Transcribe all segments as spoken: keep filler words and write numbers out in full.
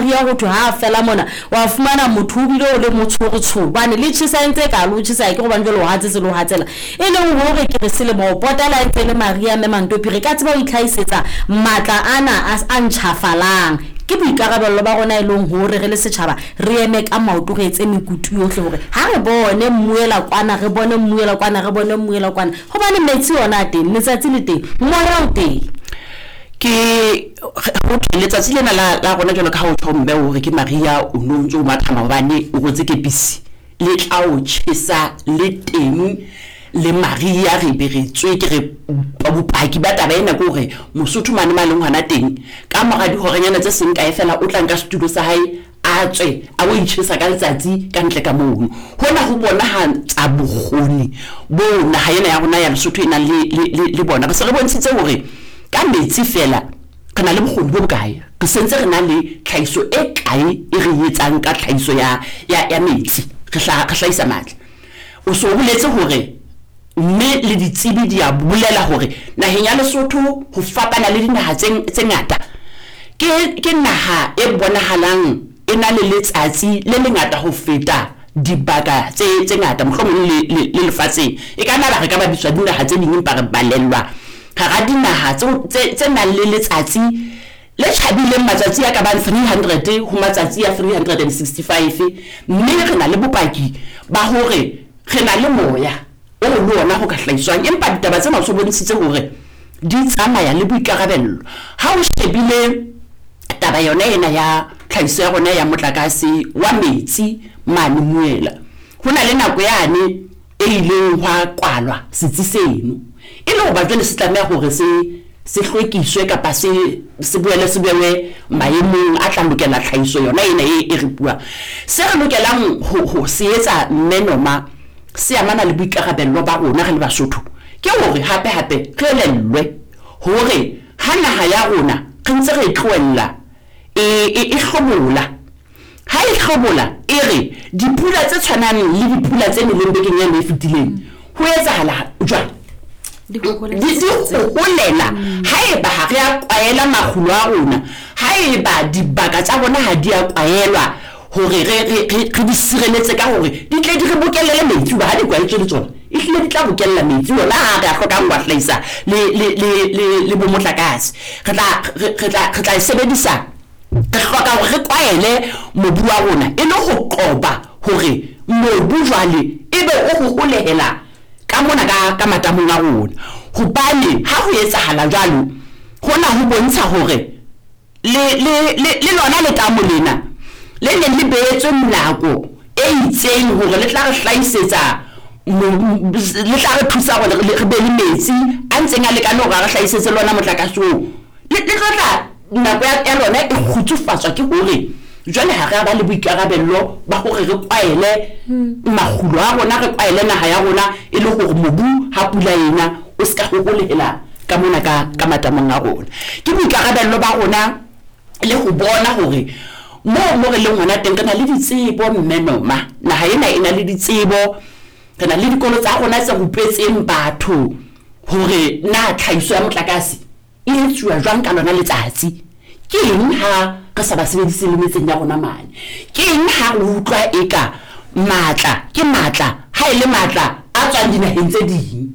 Maria ho thwe ha fela mona wa fumana motho o bile o le motshorotsho hobane le tjhesa e ntse ka lo tjhesa ke hobane jwale o hatsetse le ho hatsela e leng hore ke re selemo ho potela e ntse le Maria mme Mantopi re ka tseba ho itlhahisetsa matla ana a ntjhafalang. Ke boikarabello ba rona e leng hore re le setjhaba re eme ka maoto re etse mekutu yohle hore ha re bone mmuela kwana re bone mmuela kwana re bone mmuela kwana hobane metsi ona a teng, letsatsi le teng, moya o teng. Ke ho thwe letsatsi lena la la rona jwalo ka ha o tjho mme hore ke Maria o no ntso o matha maobane o rwetse kepisi le tla o tjhesa le teng le Maria re be re tswe ke re bopaki ba taba ena ke hore Mosotho mane ma leng hona teng ka mora dihorenyana tse seng kae fela o tla nka setulo sa hae a tswe a o itjhesa ka letsatsi ka ntle ka mono. Hona ho bonahatsa bokgoni bo naha ena ya rona ya Lesotho e nang le le le bona. Re se re bontshitse hore ka metsi fela re na le bokgoni bo bokae, re sentse re na le tlhahiso e kae e re etsang ka tlhahiso ya ya ya metsi re hla re hlahisa matla. O so boletse hore mme le ditsebi di a bolela hore naheng ya Lesotho ho fapana le dinaha tse tse ngata ke ke naha e bonahalang e na le letsatsi le lengata ho feta dibaka tse tse ngata mohlomong le le lefatsheng. E ka nna ba re ka bapiswa dinaha tse ding empa re balellwa hara dinaha tse tse nang le letsatsi le tjhabileng matsatsi a ka bang three hundred ho matsatsi a three hundred and sixty-five, mme re na le bopaki ba hore re na le moya o le ona ho ka hlahiswang. Empa ditaba tsena o so bontshitse hore di tsamaya le boikarabello. Ha o shebile taba yona ena ya tlhahiso ya rona ya motlakase wa metsi mane Muela, ho na le nako yane e ileng hwa kwalwa setsi seno e le hoba jwale se tlameha hore se se hlwekiswe kapa se se boele se bewe maemong a tla lokela tlhahiso yona ena e e re buang. Se re lokelang ho ho se etsa mme Noma se amana le boikarabello ba rona re le Basotho ke hore hape hape re elellwe hore ha naha ya rona re ntse re e tlohella e e hlobola, ha e hlobola e re dipula tse tshwanang le dipula tse neleng bekeng ena e fetileng ho etsahala jwang di holela haeba ha re a kwaela makgulo a rona, haeba dibaka tsa rona ha di a kwaelwa hore re re re di sireletse ka hore di tle di re bokellele metsi, hoba ha di kwaetswe le tsona e hlile di tla bokella metsi ona ha re a hlokang ho a hlahisa le le le le bo motlakase. Re tla re tla re tla e sebedisa, re hloka hore re kwaele mobu wa rona e le ho qoba hore mobu jwale ebe o ho holehela ka mona ka ka matamong a rona, hobane ha ho etsahala jwalo hona ho bontsha hore le le le lona letamo lena le neng le beetswe nako e itseng hore le tla re hlahisetsa le tla re thusa hore re be le metsi a ntseng a lekane hore a re hlahisetse lona motlakase oo, le tlo tla nako ya lona e kgutsufatswa ke hore jwale ha re a ba le boikarabello ba hore re kwaele makgulo a rona, re kwaele naha ya rona e le hore mobu ha pula ena o ska hoholehela ka mona ka ka matamong a rona. Ke boikarabello ba rona le ho bona hore moo mo re leng hona teng re na le ditsebo mme Noma, naha ena e na le ditsebo, re na le dikolo tsa rona tse rupetseng batho hore na tlhahiso ya motlakase e etsuwa jwang ka lona letsatsi. Ke eng ha re sa ba sebedise le metseng ya rona mane? Ke eng ha re utlwa eka matla ke matla ha e le matla a tswang dinaheng tse ding?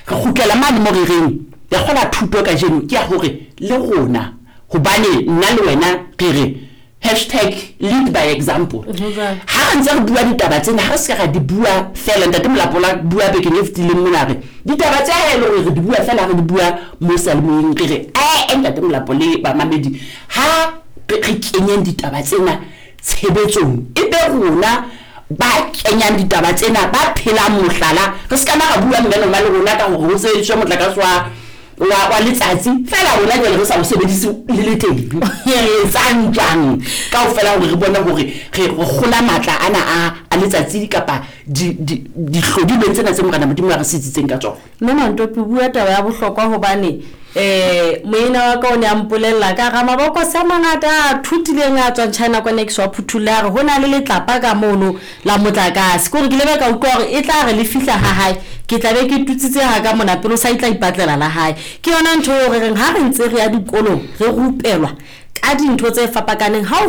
Re kgutlela mane mo re reng ya kgola thuto kajeno ke ya hore le rona, hobane nna le wena re re hashtag lead by example. Ha re ntse re bua ditaba tsena ha re se ka ra di bua fela, ntate Molapo la bua bekeng e fetileng mona re ditaba tse ha e le hore re di bua fela re di bua mo seyalemoyeng re re eh ntate Molapo le bamamedi ha re kenyeng ditaba tsena tshebetsong e be rona ba kenyang ditaba tsena ba phelang mohlala. Re se ka na ra bua mme Noma le rona ka hore ho sebediswe motlakase wa wa wa letsatsi fela rona jwale re sa o sebedise le le teng re etsang jwang kaofela hore re bone hore re kgola matla ana a a letsatsi kapa di dihlodilweng tsena tse Morena Modimo a re sitsitseng ka tsona. Mme Mantopi bua taba ya bohlokwa hobane eh moena wa ka o ne a mpolella ka ga mabokose a mangata a thutileng a tswang China kwana ke so phuthulla re hona le letlapa ka mono la motlakase ke hore ke lebe ka utlwa hore e tla re le fihla ha hae ke tla be ke tutsitse ha ka mona pelo sa itla ipatlela la hae. Ke yona ntho eo re reng ha re ntse re ya dikolong re rupelwa ka dintho tse fapakaneng ha o